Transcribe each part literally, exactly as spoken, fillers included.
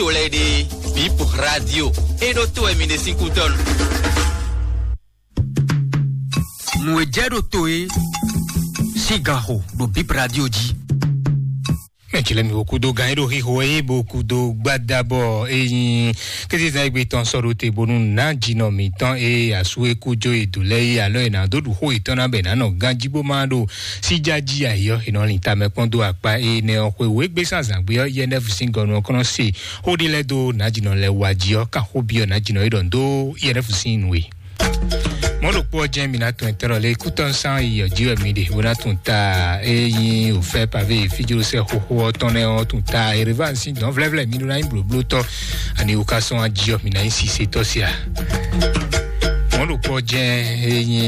to lɛ́ɛ ɖe, Bip Radio, é ɖó to wɛ mi ɖe sín kútɔ́nu. Nǔ e jɛ ɖo to é sín ganxo ɖo Bip Radio jí. Mɛ jlɛ mi wo kudo gan e ɖo xixo e bo kudo gbada bɔ e nyi kézezan egbe tɔn sɔ ɖo te bonu ná jinɔ mǐtɔn e asu e kú jó e dǒ lɛ́ɛ é alɔ e nǎ dó ɖu xó yětɔn ná bɛ nǎ nɔ ganjí bó má ɖo síjájí ayǐ ɔ́, è nɔ lin tamɛ kpɔ́n dó akpá énɛ́ ɔ́. Xwe wěgbé sín azǎngbe ɔ́, yɛnɛfu sín gɔnu ɔ́ kɔn nɔ se xó ɖé lɛ́ɛ dó nǎjínɔ lɛ́ɛ wá jí ɔ́, kan xó byɔ́ nǎjínɔ é ɖɔ ndó yɛnɛfu sín nǔ e. Mɔ̌ ɖokpó ɔ́ jɛ́n mi ná tunwun ɛtɛ́ lɔ lé kútɔ́ sán yi ɔ́ jí wɛ mi ɖe bó ná tunwun ta é nyí òfɛ pavé fíjlósɛ xóxó ɔ́ tɔn nɛ́ ɔ́ tunwun ta ereván sín dɔ̌n vlɛ́vlɛ́ mi ɖó ná nyí blǒblótɔ́. Ani wò ká sɔ́n ají ɔ́ mi ná nyí sisetɔ́ sia. Mɔ̌ ɖokpó ɔ́ jɛ́n é nyí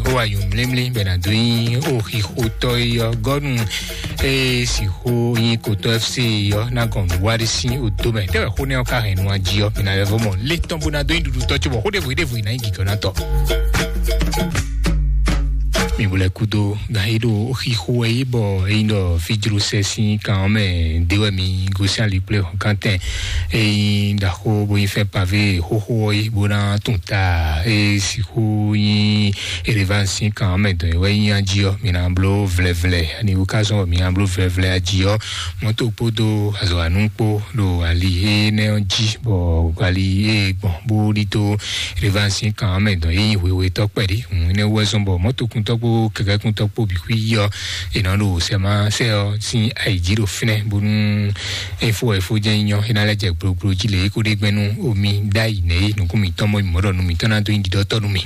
ó wa nyǔmlímlí bɛ nǎ dó nyí ó xixótɔ́ é ɔ́ gɔ́nu é sixú nyí kotɔ́ F C ɔ́ ná gɔn nǔ wá ɖé sín odó mɛ. Tɛ́ wɛ xó nɛ́ ɔ́ ka hɛn nú ají ɔ́, mi ná lɛ́ vɔ mɔ lé tɔn bó ná dó nyi ɖuɖu tɔ́ cóbɔ xó ɖěvo ɖěvo yi ná nyí gǐgɔ́nátɔ́. Mi bo lɛ́ kúdó gan é ɖo xixo wɛ yí bɔ é nyí ɖɔ fíjlósɛ sín kan ɔ́ mɛ ɖé wɛ mi gosín ali kplé hɔn kántɛn é nyí ɖaxó bó nyí fɛ́ pavé xóxó ɔ́ yí bó ná tún ta é sixú nyí éleván sín kan ɔ́ mɛ dɔn é wɛ nyí ají ɔ́, mi ná bló vlɛvlɛ ani wú ká zɔn bɔ mi ná bló vlɛvlɛ ají ɔ́. Mɔ̌to kpódó azɔ̌wanú kpó ɖo ali énɛ́ ɔ́ jí bɔ ali é gbɔn bó ɖidó éleván sín kan ɔ́ mɛ dɔn é nyí hwehwetɔ́ kpɛɖé. Hǔn énɛ́ wú wɛ zɔ́n bɔ mɔ̌tokuntɔ́ kpó kɛkɛ́kuntɔ́ kpó bǐ xwí yí ɔ́, è nɔ ɖo sɛmásɛ ɔ́ sín ayǐjí ɖo fínɛ́ bónú é fó wɛ é fó jɛ́n nyí nyɔ́ é ná lɛ́ jɛ gblogbló jí lě é kó ɖe gbɛ́ nú omi ɖ'ayǐ nɛ́ é nukún mǐtɔn mɔ mǐmɔ́ ɖɔ nú mǐtɔn ná dó nyí ɖiɖɔ́tɔ́ nú mì.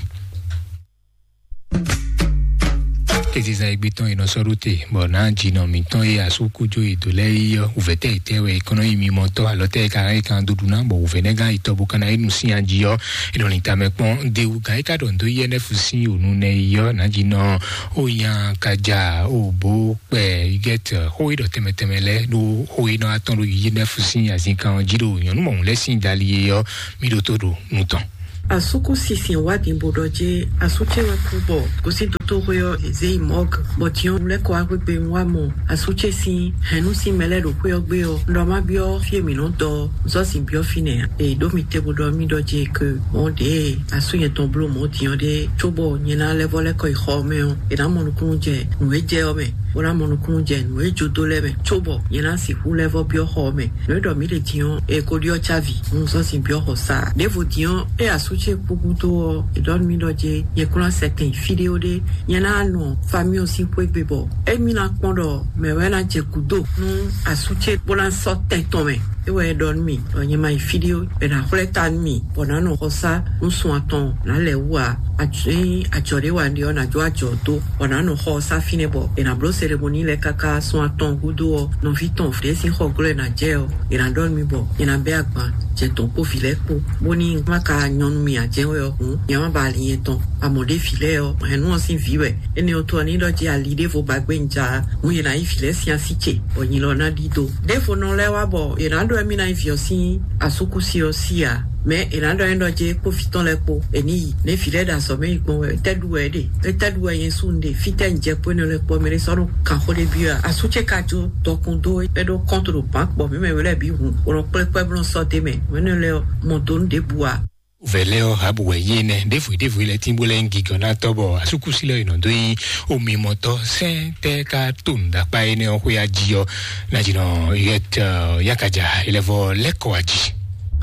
Kézezan e gbé tɔn è nɔ sɔ́ ɖó te bɔ nǎ jinɔ mǐtɔn e asúkújó e dǒ lɛ́ɛ yí ɔ́, wǔvɛ́ tɛ́ yětɛ́ wɛ è kɔn nɔ nyí mimɔtɔ́ alɔ tɛ́ e ka hɛn é kan dó ɖu ná bɔ wǔvɛ́ nɛ́ gán yi tɔ bó ka ná yi nu sín ají ɔ́, è nɔ lin tamɛ kpɔ́n. Dewu gǎn é ka ɖɔ nǔ dó yɛ́ nɛ́ fú sín ònu nɛ́ yí ɔ́, nǎ jinɔ ó nya ka ja ó bó kpɛ igɛ́t xó e ɖɔ tɛnmɛ tɛnmɛ lɛ́ɛ ɖó xó e nɔ atɔn ɖo yí nɛ́ fú sín azínkan ɔ́ jí ɖo nyɔ̌nu mɔ̌hun lɛ́ɛ sín dali é ɔ́, mì ɖótó ɖo nu tɔn. Asúkú sisin wá din bó ɖɔ jé asú ce wɛ kú bɔ gosín dotóxwé ɔ́ è zé yi mɔ̌g bɔ jǐ ɔ́ lɛ́ kɔ wá gbégbé wá mɔ asú ce sín hɛ̌nnu sín mɛ lɛ́ɛ ɖo xwé ɔ́ gbé ɔ́, un ɖɔ má byɔ́ fí e mǐ nɔ́ dɔ ɔ́, un sɔ́ sin byɔ́ fínɛ́ ǎ. È ɖǒ mi te bó ɖɔ mì ɖɔ jé ke mɔ̌ ɖě asú nyɛ tɔn bló mɔ̌ din ɔ́ ɖé cóbɔ nyɛ ná lɛ́ vɔ́ lɛ́ kɔ yi xɔ ɔ́ mɛ ɔ́, è nǎ mɔ nukúnnú jɛ nǔ e jɛ ɔ́ mɛ, bó ná mɔ nukúnnú jɛ nǔ e jó dó lɛ́ɛ mɛ cóbɔ nyɛ ná sixú lɛ́ vɔ́ byɔ́ xɔ ɔ́ mɛ. Nǔ e ɖɔ mǐ ɖe din ɔ́, è ko ɖyɔ́ cávi, un sɔ́ sin byɔ́ xɔ sá ǎ. Ɖěvo din ɔ́, é asú ce kú gúdo ɔ́, è ɖɔ nú mì ɖɔ jé nyɛ kún ná sɛ tɛn yi fí ɖé ó ɖé, nyɛ ná nɔ famíɔ sín xwé gbe bɔ émí ná kpɔ́n ɖɔ mɛ̌ wɛ ná jɛ gǔdo nú asú ce bó ná sɔ́ tɛn tɔn mɛ. É wɛ é ɖɔ nú mì ɖɔ nyɛ ma yi fí ɖé ó, è nǎ xwlɛ́ ta nú mì bɔ nǎ nɔ xɔ sá nú sun atɔn nǎ lɛ̌ wú ǎ. Ajɔ ɖé wa ɖe ɔ́, nǎ jó ajɔ dó bɔ nǎ nɔ xɔ ɔ́ sá fínɛ́ bɔ è nǎ bló seremoní lɛ́ɛ káká sun atɔn gúdo ɔ́, nɔví tɔn ɖě sín xɔ glɔ́ ɛ ná jɛ ɔ́, è nǎ ɖɔ nú mì bɔ è nǎ bɛ́ agban jɛ tɔn kpó vǐ lɛ́ɛ kpó, bóní má ka nyɔ́ nú mì ǎ jɛ́n wɛ ɔ́ hǔn, nyɛ má ba ali nyɛ tɔn. Amɔ̌ ɖé vǐ lɛ́ɛ ɔ́, hɛ̌nnu ɔ́ sín vǐ wɛ. Énɛ́ ɔ́ tó ɔ́, ní ɖɔ jí ali ɖěvo ba gbé un ja ǎ, hǔn è nǎ yí vǐ lɛ́ɛ sín así ce, bɔ nyi lɔ ná ɖídó. Ɖěvo nɔ lɛ́ɛ wá bɔ è nǎ ɖɔ émí ná nyí vǐ ɔ́ sín asúkúsi ɔ́ sí ǎ. Mɛ è nǎ ɖɔ nyɛ ɖɔ jé kpó vǐ tɔn lɛ́ɛ kpó, è ní yi. Nɛ̌ vǐ lɛ́ɛ ɖo azɔ̌ mɛ yi gbɔn wɛ? Tɛ́ ɖu wɛ é ɖe? É tɛ́ ɖu wɛ nyɛ sú un ɖe? Fítɛ́ un jɛ kpó énɛ́ lɛ́ɛ kpó ɔ́, mɛ ɖé sɔ́ nɔ kan xó ɖé byɔ́ ǎ. Asú ce ka jó dɔkun dó é ɖó kɔ́nto ɖo bǎn kpɔ mǐ mɛ we lɛ́ɛ bǐ hun, bó nɔ kplé kpɛ́ bó nɔ sɔ́ d'é mɛ. Mɛ̌nɔ lɛ́ɛ ɔ́, mɔ dó nú ɖěbǔ ǎ. Vɛ̌ lɛ́ɛ ɔ́, Habu wɛ yí énɛ́. Ɖěvo ɖěvo lɛ́ɛ tín bó lɛ́ nyí gigɔ̌nátɔ́ bɔ asúkúsi lɛ́ɛ è nɔ dó nyí omimɔtɔ́. Sɛ́n tɛ́ ka to nǔɖakpá énɛ́ ɔ́ xwé ají ɔ́, ná jǐ nɔ yɛt yakaja é lɛ́ vɔ lɛ́ kɔ ají.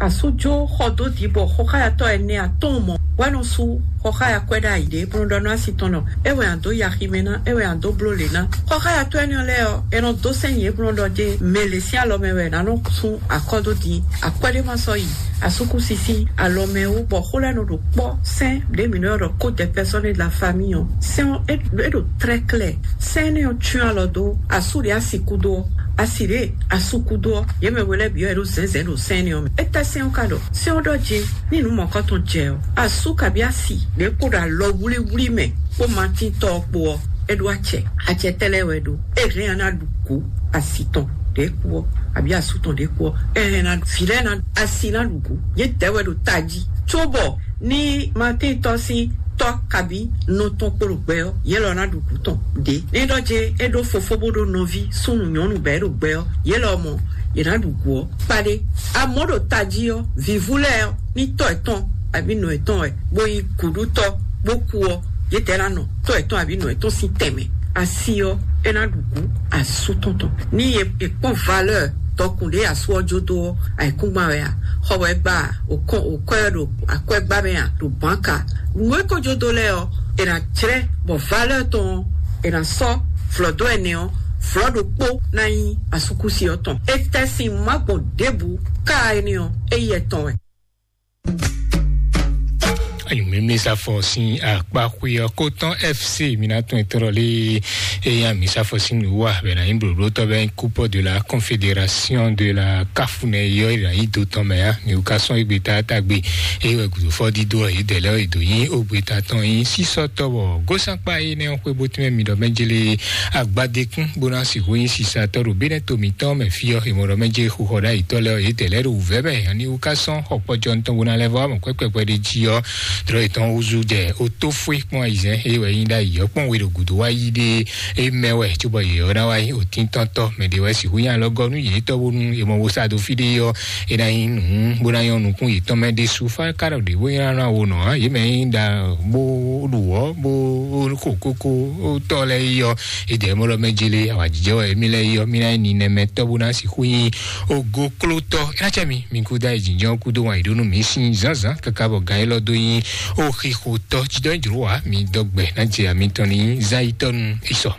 Asújó xɔ dó dǐ bɔ xɔxáyatɔ́ ɛnɛ atɔ́ɔ́n mɔ wɛ nɔ sú xɔxáya kwɛ́ ɖ'ayǐ ɖé bó nɔ ɖɔ nú asi tɔn nɔ: é wɛ a dǒ yi aximɛ ná, é wɛ a dǒ bló lě ná. Xɔxáyatɔ́ énɛ́ lɛ́ɛ ɔ́, è nɔ dó sɛ́n yě bó nɔ ɖɔ jé mɛ lě sín alɔ mɛ wɛ è nǎ nɔ sú akɔ́ dó din. Akwɛ́ ɖé ma sɔ́ yi asúkúsi sín alɔ mɛ wú bɔ xó lɛ́ɛ nɔ ɖo kpɔ́. Sɛ́n ɖě mǐ nɔ ylɔ́ ɖɔ code personnel de la famille ɔ́, sɛ́n ɔ́ é ɖo très clair. Sɛ́n énɛ́ ɔ́ cyɔ́n alɔ dó asú ɖě asi kúdó ɔ́, asi ɖě asú kúdó ɔ́, yě mɛ we lɛ́ɛ bǐ ɔ́ è ɖo zɛ̌nzɛ̌n ɖo sɛ́n énɛ́ ɔ́ mɛ. Étɛ́ sɛ́n ɔ́ ka ɖɔ? Sɛ́n ɔ́ ɖɔ jé ní nǔ mɔ̌kɔtɔn jɛ ɔ́, asú kabí asi ɖě kpo ɖo alɔwlíwlí mɛ kpó Matín tɔ́ ɔ́ kpo ɔ́, é ɖó acɛ. Acɛ tɛ́ lɛ́ɛ wɛ ɖó? É hɛn ɔ́ ná ɖu kǔ asi tɔn ɖě kú ɔ́, abǐ asú tɔn ɖě kú ɔ́, é hɛn ná vǐ lɛ́ɛ ná asi ná ɖu kǔ. Yě dɛ̌ wɛ ɖo tají, cóbɔ ní Matín tɔ́ sín tɔ́ kabí nɔ tɔn kpo ɖo gbɛ ɔ́, yě lɔ ná ɖu kǔ tɔn ɖě. Ní ɖɔ jé é ɖó fofó bó ɖó nɔví súnnu nyɔ̌nu bɛ̌ ɖo gbɛ ɔ́, yě lɔ mɔ yě ná ɖu gǔ ɔ́ kpaɖé. Amɔ̌ ɖo tají ɔ́, vǐvú lɛ́ɛ ɔ́, ní tɔ́ yětɔn abǐ nɔ yětɔn wɛ, bó nyí gǔɖútɔ́, bó kú ɔ́, yědɛɛ ná nɔ tɔ́ yětɔn abǐ nɔ yětɔn sín tɛnmɛ. Asi ɔ́, é ná ɖu gǔ asú tɔn tɔn. Ní è kpɔ́n valeur dɔkun ɖé asú ɔ́ jó dó ɔ́, ayǐkúngban wɛ a? Xɔ wɛ gbá a? Òkɔn òkɔ́ ɛ ɖo akwɛ́gbá mɛ a? Ɖo bǎnka. Nǔ e ko jó dó lɛ́ɛ ɔ́, è nǎ jlɛ́ bɔ valeur tɔn ɔ́, è nǎ sɔ́ vlɔ̌ dó ɛnɛ ɔ́, vlɔ̌ ɖokpó ná nyí asúkúsi ɔ́ tɔn. Étɛ́ sín má gbɔn ɖěbǔ ká énɛ́ ɔ́, é yɛ tɔn wɛ. Anyǔmímí safɔ sín akpa xwe ɔ́ kó tɔn F C mi ná tún etɔ́ lé. Eya mi safɔ sín nǔ wa bɛ na nyí blǒblótɔ́ bɛ nyí coupeur de la confédération de la CAF nɛ yɔ yi na yi do tɔn mɛ ya mi ka sɔn igbe ta ta gbe. Eye wɛ gudufɔ dido yi dɛ lɛ yi do nyi ogbe ta tɔn yi sísɔ tɔwɔ gosankpa yi nɛ xwe bó tún mi dɔ mɛ jele agbadekun bó ná si hu nyi sisa tɔ ɖo bínɛ to mitɔn mɛ fi ɔ yi mɔ dɔ mɛ jele xuxɔ ɖa yi tɔ lɛ yi dɛ lɛ ɖo wuvɛ mɛ ani wu ka sɔn xɔ kpɔjɔ ntɔn bó ná lɛ vɔ amɔ kpɛkpɛkpɛ ɖe ji ɔ drɔ yi tɔn wuzu jɛ o tó fue kpɔn ayizɛn eye wɛ nyi ɖa yi ɔ kpɔn we ɖo gudo wa yi ɖe e mɛ wɛ cóbɔ yě ɔ́ ná wá nyí òtíntɔ́ntɔ́ mɛ ɖé wɛ sixú nyí alɔgɔ́ nú yětɔn bónú è mɔ wo sa dó fí ɖé ɔ́. É ná nyí nǔ bó ná nyɔ́ nukún yětɔn mɛ ɖésú fá ka ɖɔ ɖě bó nyí ná wo nɔ ǎ yě mɛ nyí ɖa bó ɖu wɔ̌ bó xo kókó tɔ́ lɛ́ɛ yi ɔ́. É jɛ mɔ ɖɔ mɛ jele awǎjijɛ wɛ émí lɛ́ɛ yi ɔ́ mí ná nyí ninɛmɛtɔ́ bó ná sixú nyí ogoklótɔ́ é ná cɛ mi mi kú dá yi jǐnjɔ́n kúdó wan yě ɖó nú mǐ sín zǎnzǎn káká bɔ gǎn élɔ́ dó nyí oxixotɔ́ jídɔ́ jlǒ wǎ mi dɔgbɛ ná jɛ amǐtɔn ní zán yi tɔ́ nú isɔ.